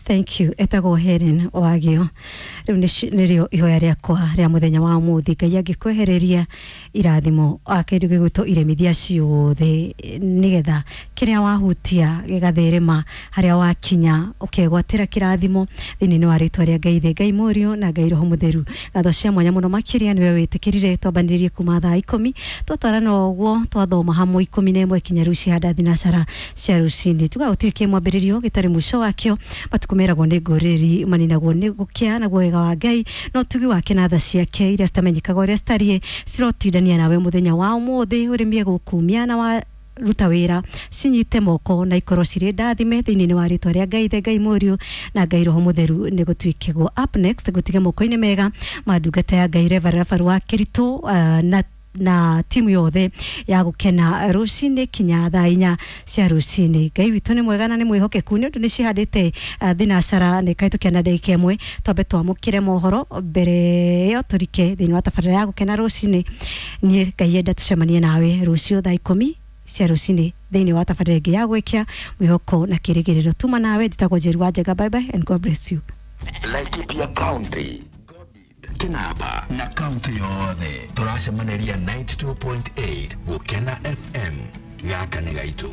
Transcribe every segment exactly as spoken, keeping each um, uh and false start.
Thank you. Etagwo Helen Wagio. Riu nĩrĩo ihoya rĩakwa rĩa mũthenya wa ũmũthĩ. Ngai angĩkwehereria irathimo kĩndũ gĩgwĩtwo iremithia ciothe, nĩgetha kĩrĩa wahutia gĩgatherema, harĩa wakinya ũkegwatĩra kĩrathimo thĩinĩ wa rĩtwa rĩa Ngai Ithe, Ngai Mũriũ na Ngai Roho Mũtheru. Ngatho cia mwanya mũno makĩria nĩwe wĩtĩkĩrire twambanĩrĩrie kuma thaa ikũmi, twatwarana ũguo twathoma hamwe ikũmi na ĩmwe kinya rĩu cihanda thinacara cia rũcinĩ. Tuga gũtirĩ kĩ mwambĩrĩrio gĩtarĩ mũico wakĩo. Matukũ meragwo nĩ ngũrĩri maninagwo nĩ gũkĩa, naguo wega wa Ngai no tugi wake na tha ciake iria citamenyekaga ũrĩa citariĩ cirotindania nawe mũthenya wa ũmũthĩ, ũrĩmie gũkumia na wa ruta wĩra cinyite moko na ikorwo cirĩ ndathime thĩinĩ wa rĩtwa rĩa Ngai Ithe, Ngai Mũriũ na Ngai Roho Mũtheru. Nĩ gũtuĩkĩgwo up next gũtige moko-inĩ mega ma ndungata ya Ngai Reverend Rafael wa Kĩritũ uh, na na timu yothe ya gukena rucini kinya thaa inya cia rucini. Ngai witũ nĩ mwega na nĩ mwĩhokeku, nĩ ũndũ nĩ cihandĩte uh, thinacara nĩ kahĩtũkia na ndagĩka ĩmwe. Twambe twamũkĩre mohoro mbere ĩyo tũrike thĩinĩ wa tabarĩra ya gukena rucini. Niĩ Ngai enda tũcemanie nawe rũciũ thaa ikũmi cia rucini thĩinĩ wa tabarĩra ĩngĩ ya gwĩkia mwĩhoko na kĩrĩgĩrĩro. Tuma nawe, njĩtagwo Njeri wa Njega. Bye bye and God bless you. Laikipia County, Kinapa na kaunti yothe tũracemaniria ninety two point eight Gũkena F M. Gaka nĩ gaitũ.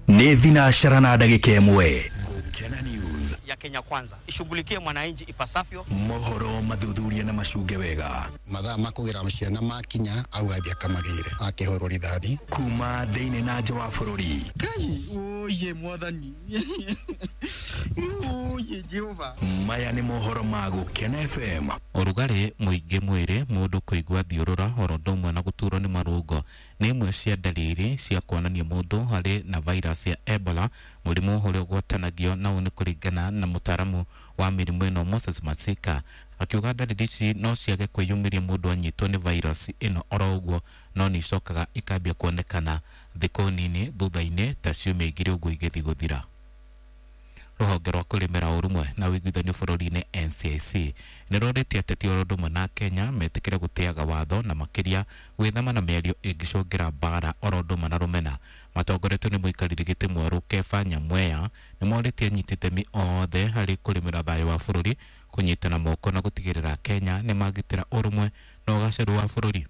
Nĩ thinacara na ndagĩka ĩmwe. Gũkena News ya Kenya Kwanza ishughulikie mwananchi ipasavyo. Mohoro mathuthuria na macunge wega. Mathaa ma kũgĩra ciana makinya au athiĩ akamagĩre akĩhũrwo rithathi kuma thĩinĩ na nja wa bũrũri. Ngai oye mwathani oye Jehova. Maya nĩ mohoro ma Gũkena F M. Ũrugarĩ mũingĩ mwĩrĩ, mũndũ kũigua thiũrũra oro ũndũ ũmwe na gũturwo nĩ marũngo nĩ imwe cia ndariri cia kuonania mũndũ harĩ na virus ya Ebola, mũrimũ ũrĩa ũgwatanagio na ũũ nĩ kũringana na mũtaaramu wa mĩrimũ ĩno Moses Masika, akiuga ndariri ici no ciage kwĩyumĩria mũndũ anyitwo nĩ virus ĩno oro ũguo, no nĩ icokaga ikambia kuonekana thikũ nini thutha-inĩ ta ciumia igĩrĩ ũguo igĩthiĩ gũthira. Rũhonge rwa kũrĩmĩra ũrũmwe na ũiguithanio bũrũri-inĩ N C I C nĩ rũrĩtie ateti oro ũndũ ũmwe na Kenya metĩkĩre gũtĩaga watho na makĩria gwĩthema na mĩario ĩngĩcũngĩra mbara oro ũndũ ũmwe na rũmena. Matongoretio nĩ mũikarĩri gĩtĩ mwerũ Kefa Nyamweya nĩ morĩtie anyiti itemi othe harĩ kũrĩmĩra thayũ wa bũrũri, kũnyitana moko na gũtigĩrĩra Kenya nĩ magitĩra ũrũmwe na ũgacĩru wa bũrũri.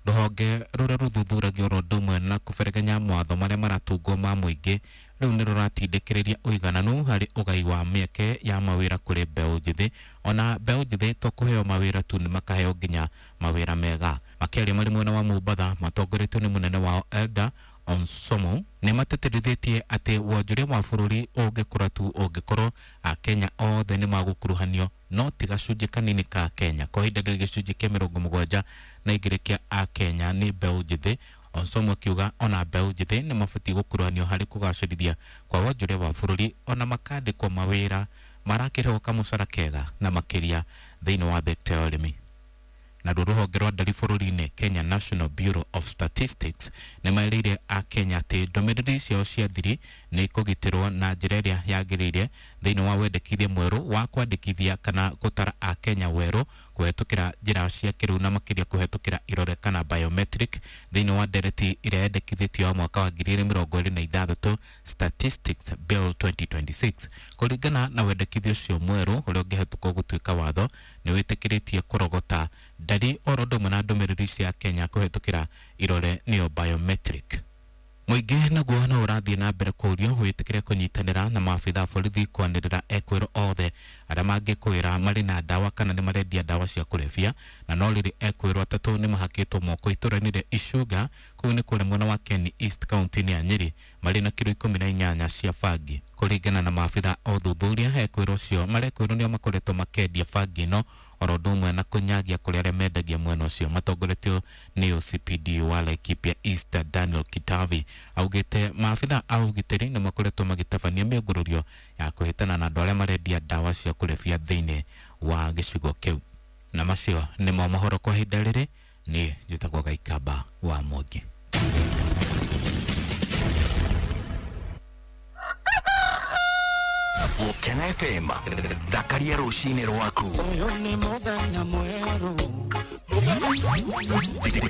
Rũhonge rũrĩa rũthuthuragia oro ũndũ ũmwe na kũberegenya mawatho marĩa maratungwo ma mũingĩ rĩu nĩ rũratindĩkĩrĩria ũigananu harĩ ũgai wa mĩeke ya mawĩra kũrĩ mbeũ njĩthĩ. Ona mbeũ njĩthĩ to kũheo mawĩra tu, nĩ makaheo nginya mawĩra mega. Makĩaria marĩ mwena wa Mombatha matongoretio nĩ mũnene wao Elda Onsomo nĩ matetithĩtie atĩ wonjoria wa bũrũri ũngĩkũra tu ũngĩkorwo Akenya othe nĩ magũkuruhanio, no ti gacunjĩ kanini ka Kenya. Kwa ihinda rĩrĩ gĩcunjĩ kĩa mĩrongo mũgwanja na igĩrĩ kĩa Akenya nĩ mbeũ njĩthĩ. Onsomo akiuga ona mbeũ njĩthĩ nĩ mabatiĩ gũkuruhanio harĩ kũgacĩrithia kwa wonjoria wa bũrũri, ona makandĩkwo mawĩra marakĩrĩhwo kamũcara kega na makĩria thĩinĩ wa thekta ya ũrĩmi. Naruo rũhonge rwa ndari bũrũri-inĩ Kenya National Bureau of Statistics nĩ merĩire Akenya atĩ ndũmĩrĩri ciao cia thiri nĩ ikũgitĩrwo na njĩra ĩrĩa yagĩrĩire thĩinĩ wa wendekithia mwerũ wa kwandĩkithia kana gũtara Akenya werũ kũhetũkĩra njĩra cia kĩrĩu na makĩria kũhetũkĩra irore kana biometric thĩinĩ wa ndereti ĩrĩa yendekithĩtio ya mwaka wa ngiri igĩrĩ mĩrongo ĩrĩ na ithathatũ Statistics Bill twenty twenty six. Kũringana na wendekithia ũcio mwerũ ũrĩa ũngĩhetũkwo gũtuĩka watho, nĩ wĩtĩkĩrĩtie kũrogota ndari oro ũndũ ũmwe na ndũmĩrĩri cia Kenya kũhetũkĩra irore nĩyo biometric. Mũingĩ naguo no ũrathiĩ na mbere kũũrio wĩtĩkĩre kũnyitanĩra na maabitha a borithi kwanĩrĩra ekwĩrwo othe arĩa mangĩkwĩra marĩ na ndawa kana nĩ marendia ndawa cia kũrebia, na no rĩrĩ ekwĩrwo atatũ nĩ mahakĩtwo moko itũũra-inĩ rĩa Icuga kũu nĩ kũrĩa mwena wa Keni East kaunti-inĩ ya Nyĩrĩ marĩ na kiro ikũmi na inyanya cia bangi. Kũringana na maabitha a ũthuthuria, ekwĩrwo ũcio marekwĩrwo nĩo makoretwo makĩendia bangi ĩno oro ũndũ ũmwe na kũnyagia kũrĩ arĩa mendagia mwena ũcio. Matongoretio nĩ O C P D wa Laikipia East Daniel Kitavi augĩte maabitha a ũgitĩri nĩ makoretwo magĩtabania mĩũngũrũrio ya kũhĩtana na andũ arĩa marendia ndawa cia kũrebia thĩinĩ wa gĩcigo kĩu. Na macio nĩmo mohoro kwa ihinda rĩrĩ. Niĩ njĩtagwo Gaikamba wa Mwangi. Gũkena F M, thakaria rũcinĩ rwaku. Ũyũ nĩ mũthenya mwerũ.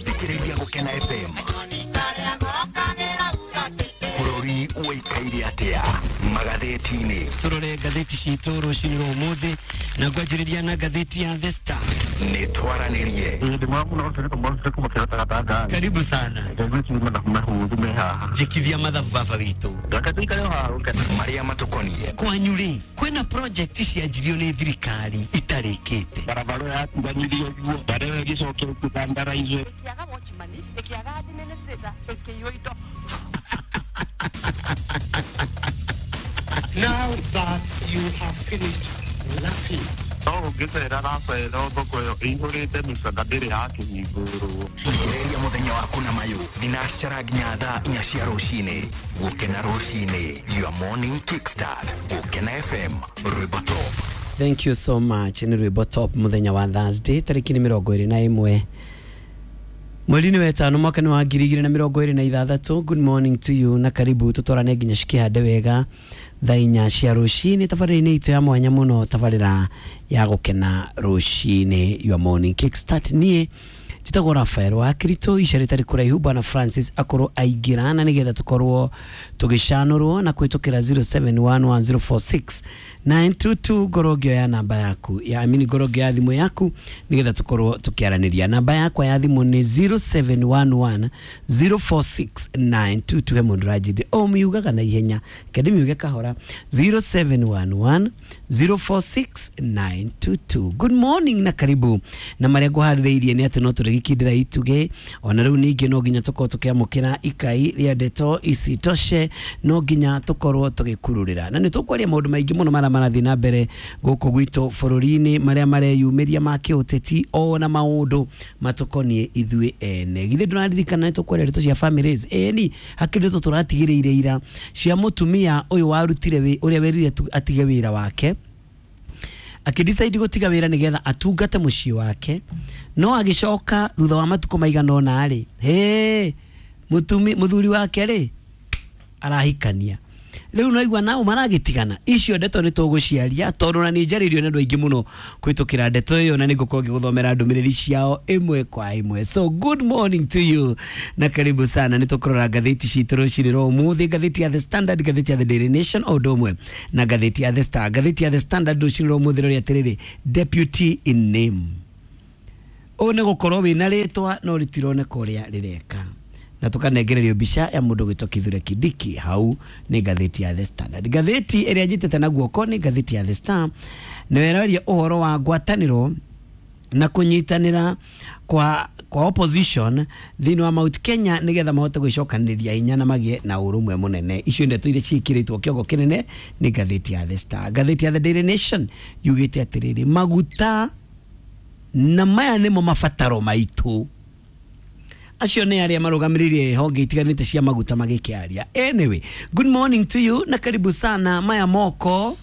Thikĩrĩria Gũkena F M. Bũrũri Ũikaire atĩa magathĩti-inĩ? Tũrore ngathĩti citũ rũcinĩ rwa ũmũthĩ na ngwanjĩrĩria na ngathĩti ya The Star. Nĩ twaranĩrie. Karibu sana. Njĩkithia mathabu baba witũ. Marĩa matũkoniĩ. Kwanyu rĩ, kwĩna project cianjirio nĩ thirikari itarĩkĩte. Barabara yatiganirio guo barabara ĩgĩcokia ĩkĩtandaraizwo. Ĩkĩaga watchman, ĩkĩaga administrator, ĩkĩiywo indo. Now that you have finished laughing. No ũngĩcera Rafael thoko ĩyo ĩihũrĩte mĩcanga ndĩrĩ yakĩhingũrwo. Ambĩrĩria mũthenya waku na mayũ thinacara nginya thaa inya cia rũcinĩ. Gũkena rũcinĩ, your morning kickstart. Gũkena F M, rwĩmbo top. Thank you so much. Nĩ rwĩmbo top mũthenya wa Thursday tarĩki nĩ mĩrongo ĩrĩ na ĩmwe mweri-inĩ wa ĩtano mwaka nĩ wa ngiri igĩrĩ na mĩrongo ĩrĩ na ithathatũ. Good morning to you na karibu tũtwarane nginya cikĩhande wega thaa inya cia rũcinĩ tabarĩra-inĩ itũ ya mwanya mũno, tabarĩra ya gũkena rũcinĩ, your morning kickstart. Niĩ njĩtagwo Rafael wa Kirito, ica rĩtarĩ kũraihu Bwana Francis akorwo aingĩra na nĩgetha tũkorwo tũgĩcanũrwo na kũhĩtũkĩra zero seven one one zero four six nine two two. Ngorwo ngĩoya namba yaku ya amini, ngorwo ngĩoya thimũ yaku nĩgetha tũkorwo tũkĩaranĩria. Namba yakwa ya thimũ nĩ zero seven one one zero four six nine two two. He mũndũ ũranjĩrire o miugaga na ihenya, reke ndĩmiuge kahora, zero seven one one zero four six nine two two. Good morning na karibu. Na marĩa ngũharĩrĩirie nĩ atĩ no tũrĩgĩkindĩra itugĩ ona rĩu ningĩ no nginya tũkorwo tũkĩamũkĩra ikai rĩa ndeto isitoshe, no nginya tũkorwo tũgĩkururĩra na nĩ tũkwaria maũndũ maingĩ mũno marĩa marathiĩ na mbere gũkũ gwitũ bũrũri-inĩ, marĩa mareyumĩria ma kĩũteti ona maũndũ matũkoniĩ ithuĩ ene. Githĩ ndũraririkana nĩ tũkwaria ndeto cia families? Ĩni hakĩrĩ ndeto tũratigĩrĩire ira cia mũtumia ũyũ warutire ũrĩa werire atige wĩra wake, akĩdecide gũtiga wĩra nĩgetha atungate mũciĩ wake, no agĩcoka thutha wa matukũ maigana ũna rĩ, hĩ mũtumi mũthuri wake rĩ arahikania. Rĩu no igua nao maragĩtigana. Icio ndeto nĩ tũgũciaria tondũ na nĩ njarĩirio nĩ andũ aingĩ mũno kũhĩtũkĩra ndeto ĩyo, na nĩngũkorwo ngĩgũthomera ndũmĩrĩri ciao ĩmwe kwa ĩmwe. So good morning to you na karibu sana. Nĩ tũkũrora ngathĩti citũ rũcinĩ rwa ũmũthĩ, ngathĩti ya The Standard, ngathĩti ya The Daily Nation o ũndũ ũmwe na ngathĩti ya The Star. Ngathĩti ya The Standard rũcinĩ rwa ũmũthĩ rũrĩa atĩrĩrĩ, deputy in name, ũũ nĩ gũkorwo wĩna rĩtwa no rĩtironeka ũrĩa rĩreka, na tukanengererio mbica ya mũndũ gwĩtwo Kithure Kindiki. Hau nĩ ngathĩti ya The Standard. Ngathĩti ĩrĩa njitĩte na guoko nĩ ngathĩti ya The Star, na ĩraria ũhoro wa ngwatanĩro na kũnyitanĩra kwa kwa opposition thĩinĩ wa Mount Kenya nĩgetha mahote gwĩcokanĩrĩria hinya na magĩe na ũrũmwe mũnene. Icio ndeto iria ciĩkĩrĩtwo kĩongo kĩnene nĩ ngathĩti ya The Star. Ngathĩti ya The Daily Nation yugĩte atĩrĩrĩ, maguta na maya nĩmo mabataro maitũ. Acio nĩ arĩa marũgamĩrĩire honge itiganĩte cia maguta magĩkĩaria. Anyway, good morning to you na karibu sana. Maya moko